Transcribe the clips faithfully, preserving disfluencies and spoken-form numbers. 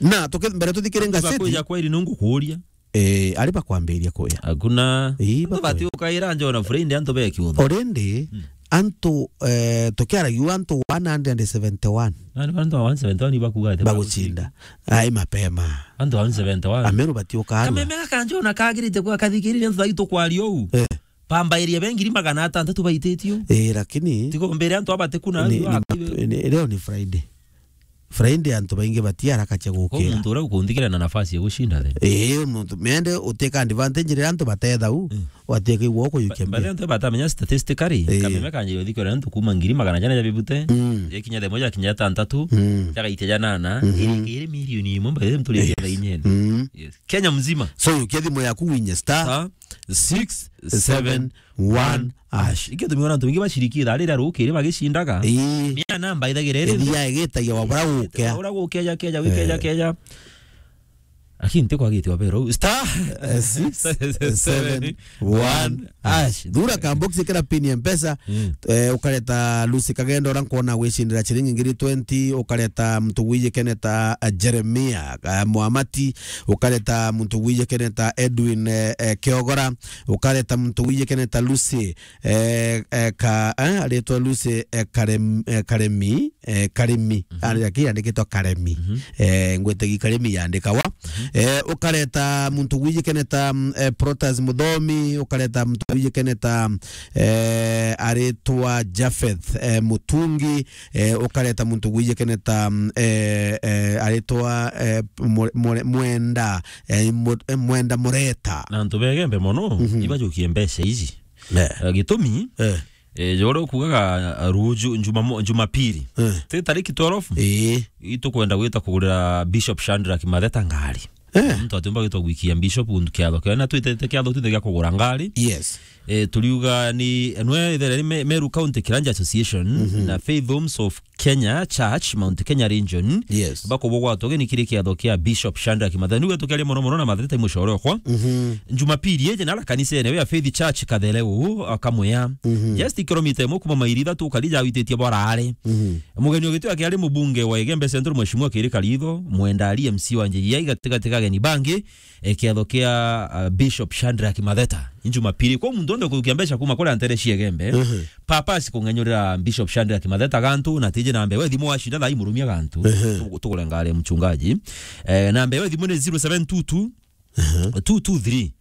Na tuke-, mbere tuthikire ngatheti. Bakuja kweri nungu kuria. Eh, ari bakwambiria kuya. Hakuna. Ii, antu bakwe- bati ukaira njo na friend antu beki utho. Already, mm, antu, eh, tukiaragia antu one hundred seventy-one. Nani antu one seventy-one bakuga ati bagucinda. Ai mapema. Antu one seventy-one. Ameru bati ukarua. Kameme gaka njo na kagirite kwa kathikirire antu baitu kwaria uu. Eh. Pamba area be ngiri magana atantatu baititio. Eh, lakini tigo mbere antu abate kuna ni, ni, ni, leo ni Friday. Friday antu baingi bati haraka cia gukira. Muntu uria ukunthikira na nafasi ya gushinda then. Eh, muntu mende uteka advantage ria antu batethau, mm, wateke igwa ukuyukia mbere. Antu batamenya statistically, eh, kameme kanjire thikira antu kuma ngiri magana jana ja bibute, mm, yakinya themo yakinya tantatu, mm, jagaitia janana, mhm, iri milioni imwe mbere mtu ri, yes, inyene. Mm. Yes. Kenya mzima. So, yukia thimu yaku winye star, star six seven one hash. Ikio tumiona antu baingi bashiriki thaa riria rukiri bagicindaga. Ii. Ni ya namba ithagire iri. Ithia igitagia wa bura gukia. Wa bura gukia, ja keja, wikeja, eh, keja. Lakini nti kwagite wa bero. Star, eh, six seven one hash. Thura ka box kira pin ya Mpesa. Mm. Eh, ukareta Lucy Kagendo, ura nkwona gwicindira ciringi ngiri twenty, ukareta muntu gwijikene ta, eh, Jeremia, eh, Mwamati, ukareta muntu gwijikene ta Edwin, eh, eh, Kiogora, ukareta muntu gwijikene ta Lucy, eh, eh, ka, eh, aritwa Lucy, eh, Karem-, eh, Karemi, eh, Karimi. Mhm. Ari aki yandikitwa Karemi. Mhm. Eh, ngwetegi Karimi yandikawa. Mhm. Eh, ukareta muntu gwijikene ta, mm, eh, Protas Muthomi, ukareta muntu gwijikene ta, eh, aritwa Japheth, eh, Mutungi, eh, ukareta muntu gwijikene ta, mm, eh, eh, aritwa, eh, Mwe-, Mwe-, Mwenda, eh, Mu-, eh, Mwenda Mureta. Na antu begembe mono, mhm, ibajukie mbeca ici. Eh. Eh, gitumi, eh, eh, jore ukugaga, eh, ruju, Njumamo-, Jumapili. Eh. Ti tariki twelve? Ii. Itukwenda gwita kugurira Bishop Shadrack Matheta ngari. Eh. Muntu atiumba gwitwa gwikia Bishop undu kiatho kia, na twitete kiatho twithe gia kugura ngari. Yes. Eh, turiuga ni, nwe ithere ni Me-, Meru County Kiranja Association, mhm, na Faith Homes of Kenya Church, Mount Kenya Region, yes, bakubugwatwa ugeni kiri kiatho kia Bishop Shadrack Matheta. Niu tukiaria mono mono na Matheta i mucore okwa. Mhm. Jumapili iji nara kanisene ya Faith Church Kathereu, akamwia. Mhm. Just kilomita imwe kuma mairi ithatu ukari jawititie borare. Mhm. Mugeni ugitio akiari mubunge wa Igembe Central, Mheshimiwa Kiri Karitho, Mwenda ari M C wa Njia, igatigati ka ageni bangi, eh, kiatho kia, ah, Bishop Shadrack Matheta. Ni Jumapili, kwa muntu onde kurukia mbeca kuma kuria ntere cia Igembe, mhm, papa asi kung'enyurira Bishop Shadrack Matheta gantu, na tiji na mbewe thimu wacinda thaa imurumia gantu. Mhm. Tu-, tugure ngari ya mchungaji. Eh, na mbewe thimu ni zero seven two two, mhm, two two three,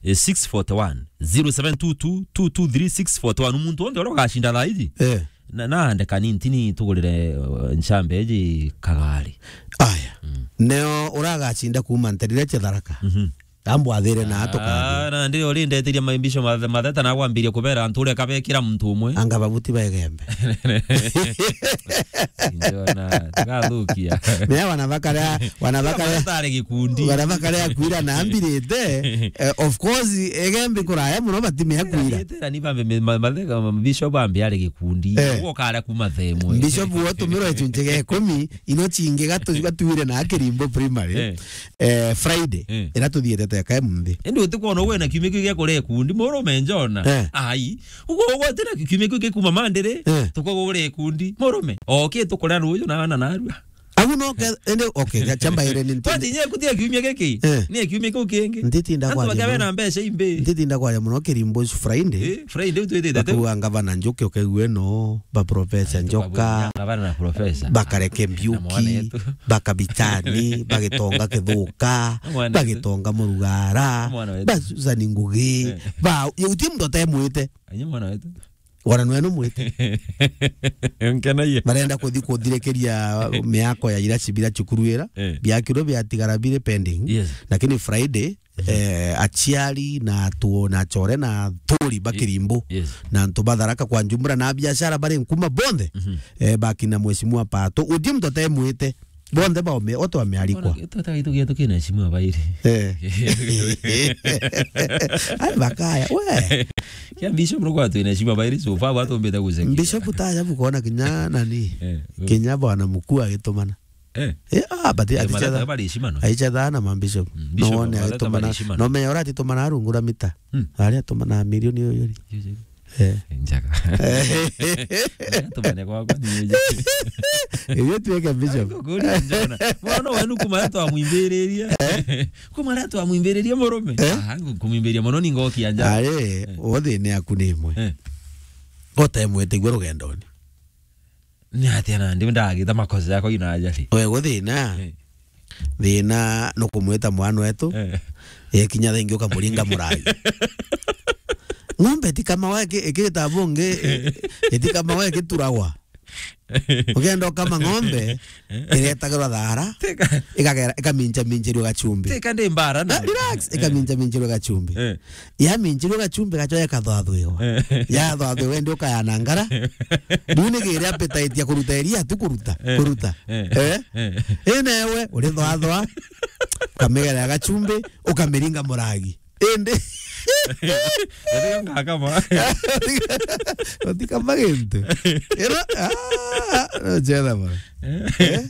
eh, six forty one. Zero seven two two, two two three, six forty one. Muntu onde uria ugacinda thaa iji. Eh. Na, na andeka ni ntini tugurire, uh, nchambe iji kagari. Aya. Mm. Neo uragacinda kuma nterire cia Tharaka. Mhm. Ambwathire na atuka. Ah, na ndi uri ndeteria maimbisho mathe-, Matheta na kwambiria kubera antu uria kabekira muntu umwe. Anga babuti ba Igembe. Njona, tigathukia. Mea wana bakarea, wana bakarea. Tare gikundi. Wana bakarea kwira na ambirite. Eh, of course, Igembe kuraya muno batimea kwira. Tera ni bambe me-, ma-, Matheta, ma-, Bishop ambe ari gikundi. Eh. Ugo kare kuma themwe. Bishop wotumirwe icunci gia ikumi, ino cingi gatu-, gatuire na Kirimbo Primary. Eh. Eh, Friday, eh, ira tuthiete teka munthi. Indi utikwona uwe na kiumia kiu gia kuria ikundi, murume Njona. Eh. Ai, ugo ugwatira kiumia kiu gikuma Mandiri, eh, tukugure ikundi, murume. Oke tukuria ruju na ana narua. Au no ke, ende, okay, ga-, chamba ire ni ntindi. Kwati nye kutia kiumia giki? Eh. Ni kiumia kiu kingi. Ntitinda kwaria muno. Antu bakabe na mbeca imbi. Ntitinda kwaria muno Kirimbo Friday. Eh, Friday utwitite tu. Bakuga ngavana Njuki ukaigue no, ba Professor Njoka. Ngavana na Professor. Bakareke Mbiuki, na mwana yetu. Bakabitani, bagitonga Kithuka, na mwana yetu. Bagitonga Murugara, na mwana wetu. Ba Susan Ngugi, eh, ba, ye uti muntu atemwite. Anye mwana wetu. Wana nwe numwite. Nkenaie. Barenda kuthi kuthirikiria miako ya ira cibira cukuru ira. Eh. Biakirwe biatigara biri pending. Yes. Lakini Friday, mhm, eh, aciari na atu na achore na aturi ba Kirimbo. Yes. Na antu ba Tharaka kwa jumla na biashara bari nkuma bonthe. Mhm. Eh, bakina Mheshimiwa Pato. Uti muntu atemwite. Bonthe baome-, othe wamealikwa. Ona gitata gaitu gietu kina heshima bairi. Eh. Ai, bakaya, we. Kia Bishop no kwa twina heshima bairi, so far watu mbeta guseki. Bishop taja bukona kinya nani? Eh, eh. Kinya bwana mkuu agitumana. Eh. Eh, ah, but eh, ati Matheta chetha bari heshima no. Aicha thana ma Bishop. Mm, Bishop, no one Matheta agitumana. Bari heshima no. No me ora ati tumana arungura mita. Mm. Ari atumana milioni yo yori. Yes, yes. Eh. Njaga. Tumane kwakwa ni nje. Iyo tuweke bishop. Kuria njona. Mwana wenu kuma twamwimbiririe. Kuma twamwimbiririe murume. Eh? Ah, kumwimbiria muno ni ngokia nja. Ari, eh, othine aku ni imwe. Eh. Gote mwetigwe rugendoni. Ni atia nandi ndagita makosa yakwa ina ajali? We guthina. Eh. Thina nukumwita mwana wetu. Eh. Yekinya thengi ukamuringa muragi. Ng'ombe itikamawa iki-, ikita bungi, i-, itikamawa ikituragwa. Ugenda ukama ng'ombe, iretagirwa thara, Teka. Ikagera, ikamincha minchirua gachumbi. Teka ndi mbara na. Na relax, ikamincha minchirua gachumbi. Eh. Yaminchirua gachumbi gacho ikathwathwiwa. Eh. Yathwathwiwa ndi ukayana ngara. Riu ni giri appetite ya kuruta iria tu kuruta, eh, kuruta. Eh. Eh? Eh. Ina ewe, urithwathwa, ukamigera gachumbi, ukamiringa muragi. Indi. Ethika ngakama. Utikama gintu. Ira, ah, no, chetha bana. Eh?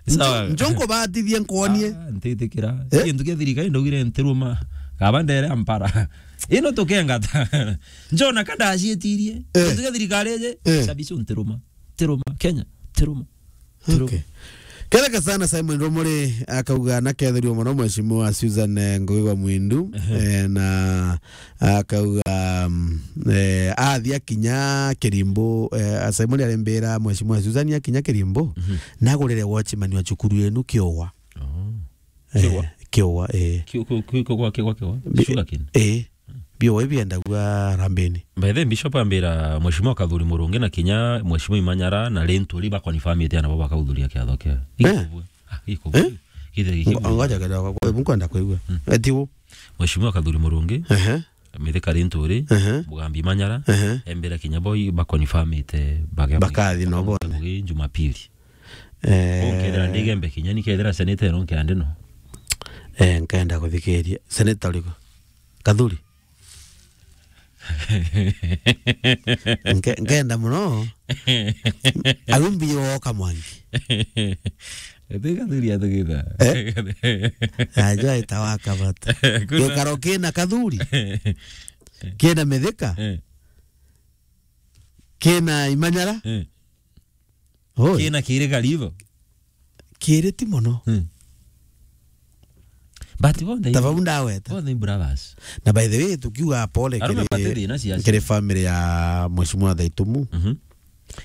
Sawa. Njo-, njo nkubatithie nkuonie. Ah, ntitikira. Eh? Gintu kia thirikari ndaugire ntiruma. Kaba ndere ampara. Ino tukengata. Njona ka ndacietirie. Eh. Gintu kia thirikari iji, eh, cabici ntiruma. Tiruma. Kenya, tiruma. Tiruma. Okay. Kereka sana Simon Romore akauga na kethirwo mono Mheshimiwa Susan, eh, Ngugi wa Mwindu, ehe, eh, na akauga, mm, eh, athia kinya Kirimbu, eh, Simon arembera Mheshimiwa Susan akinya Kirimbu, mhm, nagurire watchman wa cukuru yenu kiuwa. Oh. Eh, kiuwa? Kiuwa, eh. Kiu-, kiu-, kiu-, kiuwa, kiuwa, kiuwa? Bi-, sugarcane? Eh. Biuwa ibiendagua Harambee-ini. By the way, Bishop ambira Mheshimiwa Kathuri Murungi na kinya Mheshimiwa Imanyara na Linturi bakonfirmite ana baba bakauthuria kiatho kia. Eh? Ikubwe. Ah, ikubwe. Eh? Githe giki. Ngo-, ngoja kidogo, kwa hivyo nkwenda kuigua. Mm. Eti u? Mheshimiwa Kathuri Murungi, ehe, Mithika Linturi, ehe, Mugambi Manyara, ehe, embera kinya bo i-, bakonfirmite bage-, bakathi no bone. Mugi Jumapili. Eh. Nkethira ndigembe kinya ni kethira seneta eno nkea ndi no. Eh, nkenda kuthikiria. Seneta uriku? Kathuri? Nke-, nkenda muno. Arumbi woka mwangi. Eti Kathuri atugitha. Eh? Najua itawaka bata. Kuna gikaro kina Kathuri. Kina Mithika. Eh. Kina Imanyara. Eh. Oi. Kina kiri karibu. Kiri ti mono. Hmm. But bonthe i-, tabau ndaweta. Bonthe i brothers. Na by the way, tukiuga pole kiri, kiri family ya Mheshimiwa Thaitumu. Mhm.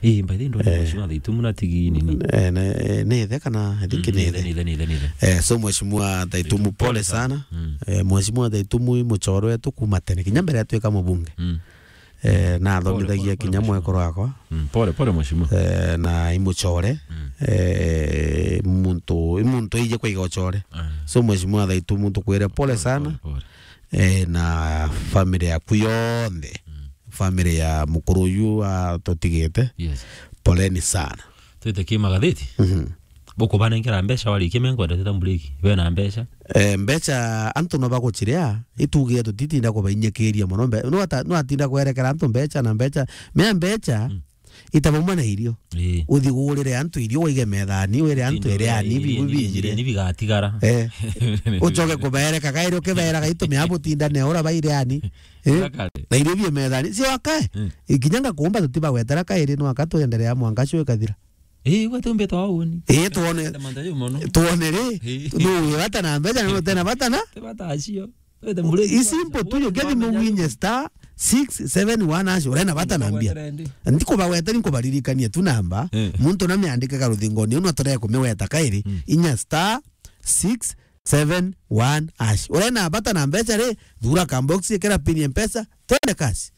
Eh, by the way, ndona, eh, Mheshimiwa Thaitumu na tigi nini? Eh, ne, ne ithe kana, I think, mm, ni ithe, ithe. Ni ithe, ni ithe, ni ithe. Eh, so Mheshimiwa Thaitumu, pole sana. Mm. Eh, Mheshimiwa Thaitumu i muchoro wetu kuma tene. Kinya mbere atuika mubunge. Mm. Eh, na athomithagia kinya mwekuru wakwa. Mm, pole, pole, mheshimiwa. Eh, na i muchore. Mm. Eh, muntu, i muntu ije kwaiga uchore. Ah. So, mheshimiwa Thaitumu, tukwire pole sana. Pole, pole. Eh, na family yaku yonthe. Mm. Family ya mukuru uyu atutigite. Yes. Poleni sana. Twite ki magatheti? Mhm. Bukubanenkera mbeca warikia mengo ndeteta mburiki. Bena mbeca? Eh, mbeca antu no baguchiria, itugire tutitinda kubainyikiria mono. Mbe-, no ata-, no atinda kwerekera antu mbeca na mbeca. Mea mbeca, mm, itabumwe na irio. Ii. Uthi gurire antu irio, waige methani, wire antu iriani, biu binjire. Ni bigatigara. Eh. Ucoke kubereka kairi, ukiberaga itumia butindane ura bairiani. Eh? Na irio bie methani. Cio akae. Mm. Ikinya ngakumba tutibagwetera kairi, no akatwenderea mwanka cio ikathira. Ii, gwe tumbite wa uni. Ii, tuone, tuone ri, ii, nu wi bata na mbeca, na nu tena bata na? Ti bata acio. Wete muregi. I simple tu, ukithi muwinye star six seven one hash, urena bata na mbia. Ndikubagweta, ni nkubaririkania tu namba. Eh. Muntu na miandike ka ruthingoni, uno tore kumiweta kairi, mm, inya star six seven one hash. Urena bata na mbeca ri, thura ka box, ikira pin ya Mpesa, twende kasi.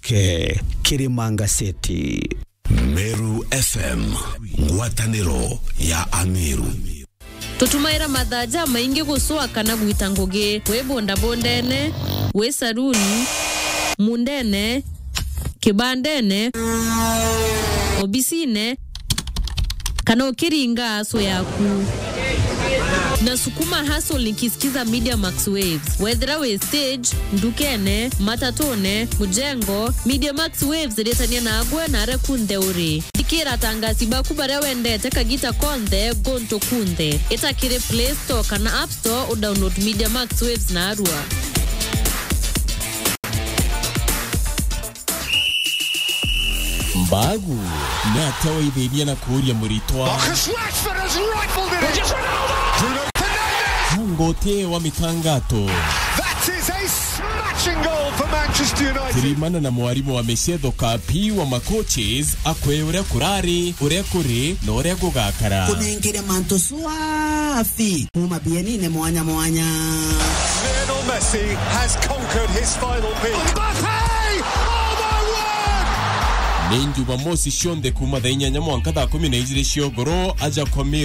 Ke, Kirima Ngaseti. Meru F M, ngwataniro ya Ameru. Tutumaira mathaa jamaingi gucua kana gwita ngugi, wi bondabondene, wi saruni, mundene, kibandene, obisine, kana ukiringa aso yaku. Na sukuma hustle nikisikiza Media Max Waves. Wethira wi stage, ndukene, matatune, mujengo, Media Max Waves iritania nagwe na aria kunthe uri. Thikira atangasi baku baria wendete kagita konthe, guntu kunthe. Ita kiri Play Store kana App Store, udownload Media Max Waves narua. Bagu, ni atia waithirie na kuuria muritwa? Marcus Rashford has rifled it in. Bruno Fernandes. Ngoti wa mitangato. That is a smashing goal for Manchester United. Tirimana na mwarimu wa micetho Kapi wa macoaches, akwe uria kurari, uria kuri, na uria gugakara. Kunengere mantu swafi kuma bienine mwanya mwanya. Lionel Messi has conquered his final peak. Mbappe! Oh my word! Ni Jumamosi cionthe kuma thaa inyanya mwanka thaa kumi na ijiri cia ugoro, aja kwa Mary